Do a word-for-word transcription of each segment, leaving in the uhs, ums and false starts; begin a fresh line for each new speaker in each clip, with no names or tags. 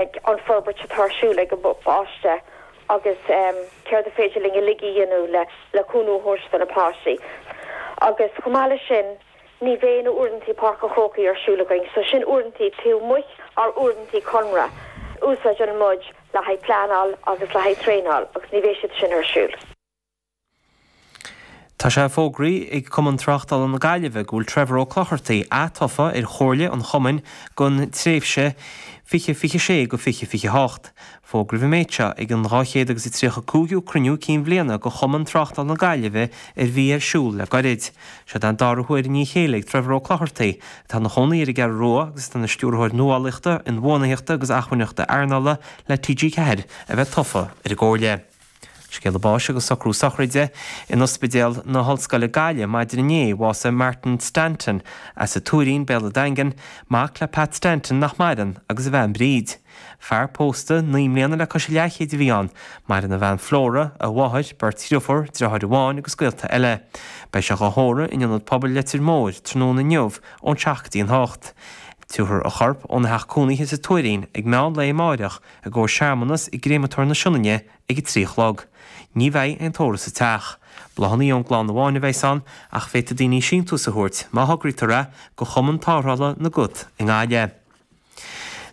An forbairt atá ar siúl ag an bpáiste agus céard is féidir linn uilig a dhéanamh le le cúnamh a thabhairt do na páistí. Agus chomh maith leis sin, ní bheidh na uaireanta Páirc an Chrócaigh ar siúl againn, so sin uaireanta taobh amuigh ár uaireanta conradh. Úsáideann muid le haghaidh pleanáil agus le haghaidh traenáil agus ní bheidh siad sin ar siúl.
Tá sé fógraithe ag Cumann Tráchtála na Gaillimhe go bhfuil Trevor Ó Clochartaigh atofa ar chomhairle an chumainn don tréimhse fiche fiche sé go fiche fiche hocht. Fógraíodh an méid seo ag an dhá chéad agus a tríocha cúigiú cruinniú cinn bhliana de Chumann Tráchtála na Gaillimhe a bhí ar siúl le gairid. Seo an dara huair i ndiaidh a chéile ag Trevor Ó Clochartaigh, atá ina chónaí ar an gCeathrú Rua agus atá ina stiúrthóir nuálaíochta, inbhuanaitheachta agus acmhainneachta earnála le T G ceathair a bheith tofa ar an gcomhairle. Scéala báis agus socrú sochraide in Ospidéal na hOllscoile Gaillimh maidin inné bhásaigh Martin Stanton as an Tuairín, Béal an Daingin, mac le Pat Stanton nach maireann agus a bhean Bríd. Fear pósta naoi mbliana le cois leathchéid a bhí ann, maireann a bhean Flora, a mháthair, beirt dheirfiúr, deartháir amháin agus gaolta eile. Beidh sé á thórramh in ionad pobail Leitir Móir tráthnóna inniu ón seacht go dtí an hocht. Tabharfar a chorp óna theach cónaithe sa Tuairín ag meán lae amárach i gcomhair searmanas i gcréamatóir na Sionainne ag a trí a chlog. Ní bheidh aon tórramh sa teach. Bláthanna ón gclann amháin a bheidh ann ach féadfaidh daoine síntiús a thabhairt má thograítear é go Chumann Tarrthála na gCat i nGaillimh.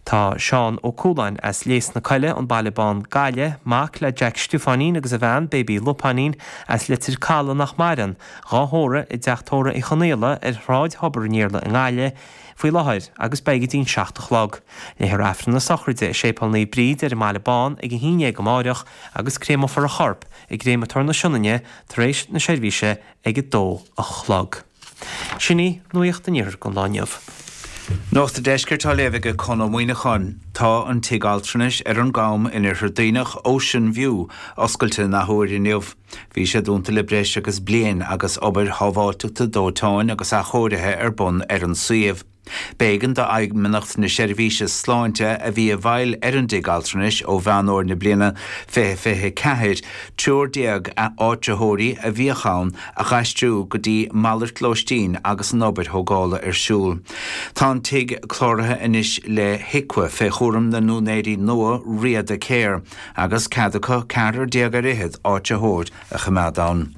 Tá Seán Ó Cúláin as Léas na Coille an Baile Bán Gaillimh, mac le Jack Stiofáinín agus a bhean Baby Lupáinín as Leitir Caladh nach maireann, dhá thórramh i dteach tórraimh Uí Chonaola ar Shráid Thobar an Iarla i nGaillimh faoi láthair agus beidh go dtí'n seacht a chlog. Léifear Aifreann na sochraide i Séipéal Naomh Bríd ar an mBaile Bán ag a haon déag amárach agus créamófar a chorp i gcréamatóir na Sionainne tar éis na seirbhíse ag a dó a chlog. Sin í nuacht an iarthair don lá inniu.
Nuacht an Deiscirt á léamh ag Conn Ó Muíneacháin. Tá an tigh altranais ar an gCam in Oirthear Duibhneach Ocean View oscailte an athuair inniu. Bhí sé dúnta le breis agus bliain agus obair shábháilteachta dóiteáin agus athchóirithe ar bun ar an suíomh. B'éigean d'Fheidhmeannacht na Seirbhíse Sláinte a bhí i bhfeighil ar an dtigh altranais ó Mheán Fómhair na bliana fiche fiche ceathair triúr déag áitritheoirí a bhíodh ann a dh'aistriú go dtí malairt lóistín agus an obair thógála ar siúl. Tá an tigh cláraithe anois le HIQA fé chúram na n-úinéirí nua Riada Care agus cead acu ceathrar déag ar fhichead áitritheoir a choimeád ann.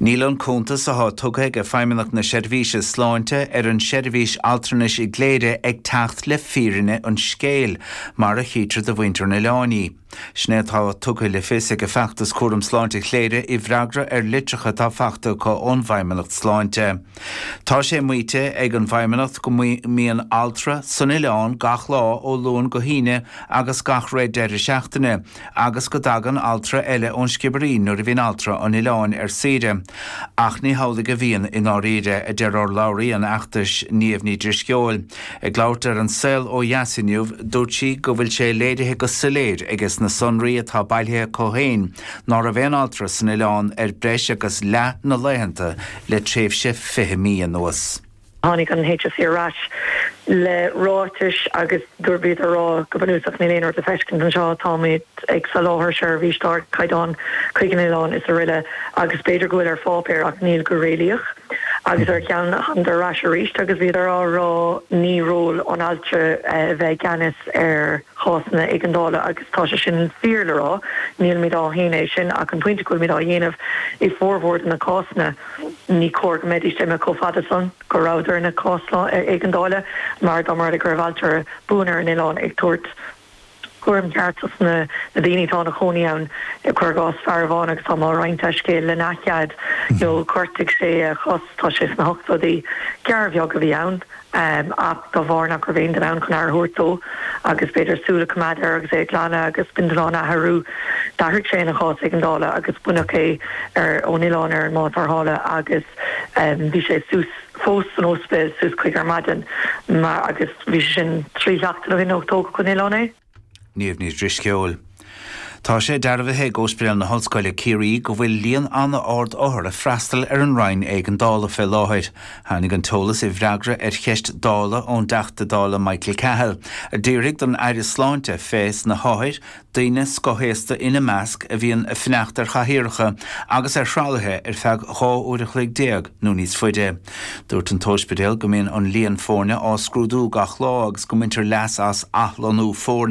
Níl an cuntas atá tugtha ag Feidhmeannacht na Seirbhíse Sláinte ar an seirbhís altranais i gCléire ag teacht le fírinne an scéil, mar a chítear do mhuintir an oileáin í. Sin é atá tugtha le fios ag feachtas cúram sláinte Chléire i bhfreagra ar litreacha atá faighte acu ón bhFeidhmeannacht Sláinte. Tá sé maíte ag an bhFeidhmeannacht go mbíonn altra san oileán gach lá ó Luan go hAoine agus gach ré deireadh seachtaine, agus go dtagann altra eile ón Sciobairín nuair a bhíonn altra an oileáin ar saoire. Ach ní hamhlaidh a bhíonn i ndáiríre, a deir urlabhraí an fheachtais Niamh Ní Drisceoil. Ag labhairt ar An Saol Ó Dheas inniu, dúirt sí go bhfuil sé léirithe go soiléir aige na sonraí atá bailithe acu féin ná raibh aon altra san oileán ar breis agus leath na laethanta le tréimhse fiche mí anuas.
Tháinig an H S E ar ais le ráitis agus dúirt siad ar rá go bunúsach níl aon rud le feiscint anseo, táimid ag soláthar seirbhís d'ardchaighdeán chuig an oileán is araile agus b'fhéidir go bhfuil ar pháipéar ach níl go réalaíoch. Agus ar cheann thángadar ar ais arís agus bhíodar á rá ní ról an altra a bheith i gceannas ar chásanna éigeandála agus tá sé sin fíor le rá, nílimid á shéanadh é sin ach an pointe go bhfuilimid á dhéanamh i formhór de na cásanna ní cóir go mbeidís imithe chomh fada san go rabhadar ina cás éigeandála mar dá mba rud é go raibh altra buan ar an oileán ag tabhairt cúram ceart dos na daoine atá ina chónaí ann cuir i gcás fear amháin agus tá mé ag roinnt a scéil lena chead nó ghortaigh sé a chos, tá sé sna hochtóidí, gearr bheag a bhí ann ach dá bharr nach raibh aon duine ann chun aire a thabhairt dó agus b'fhéidir súil a choimeád air agus é ag glanadh agus bindealán a athrú d'athraigh sé ina chás éigeandála agus baineadh é ar ón oileán ar an mbád tarrthála agus bhí sé suas fós san ospidéal suas chuig ar maidin mar agus bhí sé sin trí sheachtain ó shin ó tógadh an oileán é.
Niamh Ní Drisceoil. Tá sé dearbhaithe ag Ospidéal na hOllscoile Ciarraí go bhfuil líon an-ard othar ag freastal ar an Roinn Éigeandála fé láthair. Tháinig an t-eolas i bhfreagra ar cheist Dála ón dTeachta Dála Michael Cahill, a d'iarr don Aire Sláinte fés na hothair, daoine scothaosta ina measc a bhíonn ag fanacht ar chathaoireacha agus ar thralaithe ar feadh dhá uair a chloig déag nó níos faide. Dúirt an t-ospidéal go mbíonn an líon foirne á scrúdú gach lá agus go mbaintear leas as athlonnú foirne.